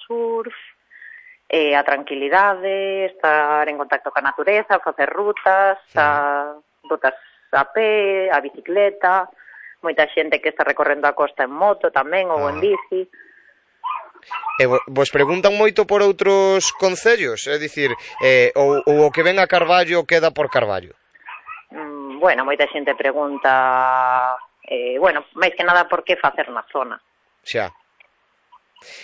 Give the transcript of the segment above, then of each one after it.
surf, a tranquilidade, estar en contacto ca natureza, facer rutas, rutas a pé, a bicicleta, moita xente que está recorrendo a costa en moto tamén ou en bici. E vos preguntan moito por outros concellos? É dicir, ou o que ven a Carballo queda por Carballo? Bueno, moita xente pregunta, máis que nada por que facer na zona. Xa.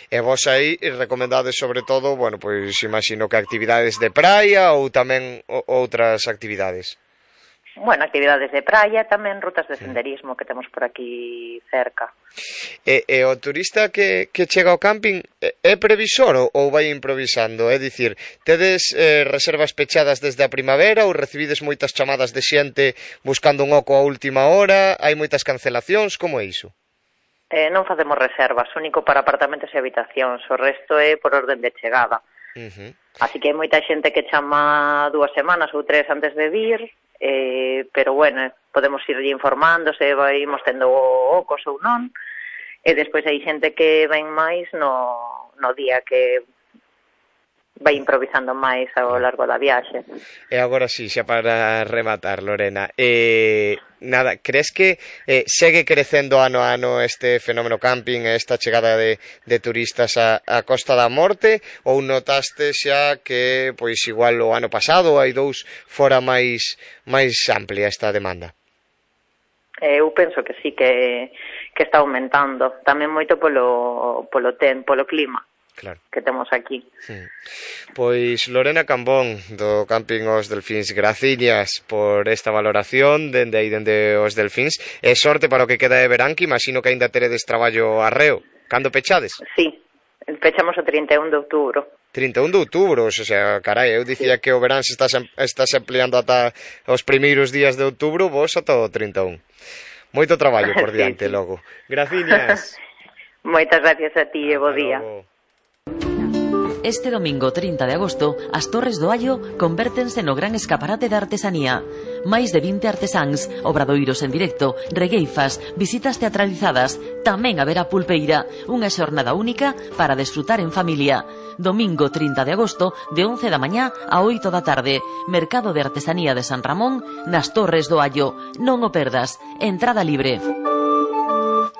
E vos aí recomendades sobre todo, pois imagino que actividades de praia ou tamén outras actividades? Actividades de praia, tamén rutas de senderismo que temos por aquí cerca. E o turista que chega ao camping é previsor ou vai improvisando? É dicir, tedes reservas pechadas desde a primavera ou recibides moitas chamadas de xente buscando un oco a última hora? Hai moitas cancelacións? Como é iso? Non facemos reservas, único para apartamentos e habitacións, o resto é por orden de chegada. Así que hai moita xente que chama 2 semanas ou 3 antes de vir, pero podemos ir informando se imos tendo ocos ou non, e despois hai xente que ven máis no día que vai improvisando máis ao largo da viaxe. E agora sí, xa para rematar, Lorena, crees que segue crecendo ano a ano este fenómeno camping, esta chegada de turistas a Costa da Morte, ou notaste xa que, pois igual o ano pasado, hai 2, fora máis amplia esta demanda? Eu penso que sí, que está aumentando, tamén moito polo clima. Claro. Que temos aquí. Pois Lorena Cambón, do Camping Os Delfíns, graciñas por esta valoración dende Os Delfíns, e sorte para o que queda de verán, que imagino que aínda teredes traballo arreo. Cando pechades? Sí, pechamos o 31 de outubro. 31 de outubro, o sea, carai, eu dicía que o verán se estás empleando ata os primeiros días de outubro, vos ata o 31. Moito traballo por diante, logo. Graciñas. Moitas gracias a ti e bo día. Este domingo 30 de agosto, as Torres do Allo convértense no gran escaparate da artesanía. Máis de 20 artesáns, obradoiros en directo, regueifas, visitas teatralizadas, tamén haberá pulpeira, unha xornada única para desfrutar en familia. Domingo 30 de agosto, de 11 da mañá a 8 da tarde, Mercado de Artesanía de San Ramón, nas Torres do Allo. Non o perdas, entrada libre.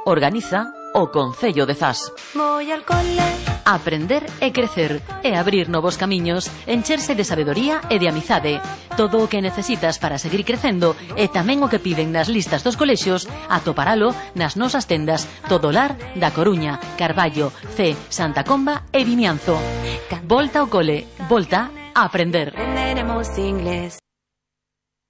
Organiza o Concello de Zas. Voy al cole. Aprender e crecer e abrir novos camiños, encherse de sabedoría e de amizade. Todo o que necesitas para seguir crecendo e tamén o que piden nas listas dos colexios, atoparalo nas nosas tendas Todolar da Coruña, Carballo, C, Santa Comba e Vimianzo. Volta ao cole, volta a aprender. Aprenderemos inglés.